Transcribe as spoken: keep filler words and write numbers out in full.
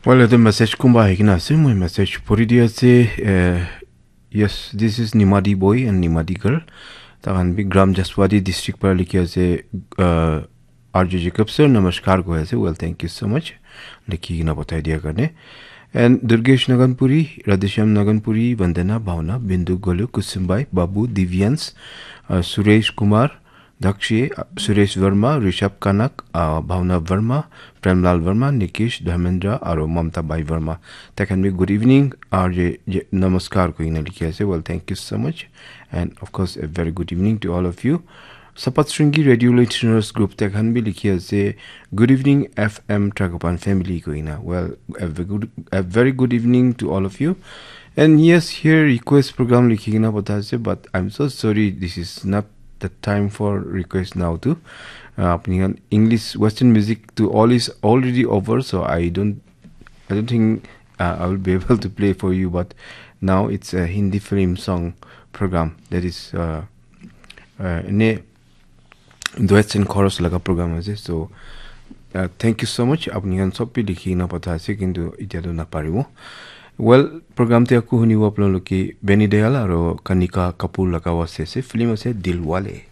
Well, the message kumba ahikena ase, moi message puri di ase. Uh, yes, this is Nimadi boy and Nimadi girl. Tahan bi Gram Jaspati district para likhi ase. Uh, R J Jacob sir, namaskar koi ase. Well, thank you so much. Likhi kena pathai dia karne. And Durgesh Naganpuri, Radheshyam Naganpuri, Vandana, Bhavna, Bindu, Golu, Kusumbai, Babu, Divyans, uh, Suresh Kumar, Dakshi, uh, Suresh Verma, Rishabh Kanak, uh, Bhavna Verma, Premlal Verma, Nikesh, Dharmendra, aro Mamta Bai Verma. Taikhan bi good evening, R J, J, namaskar koi kena likhi ase. Well, thank you so much. And of course, a very good evening to all of you. Sapat Shringi Radio Listeners Group, taikhan bi likhi ase, "Good evening, F M Tragopan family," koi kena. Well, a very good, a very good evening to all of you. And yes, here request program likhi kena pathai ase, but I'm so sorry, this is not the time for request now too. Uh, apni khan English Western music to all is already over, so I don't, I don't think uh, I will be able to play for you. But now it's a Hindi film song program that is uh, uh, ne duets and chorus laga program ase. So uh, thank you so much. Apni khan sob bi likhi kena pathai ase, kintu itya to naparibo. Well, program te aku hunibo apnaloke Benny Dayal aro Kanika Kapoor laga wase ase. Film ase Dilwale.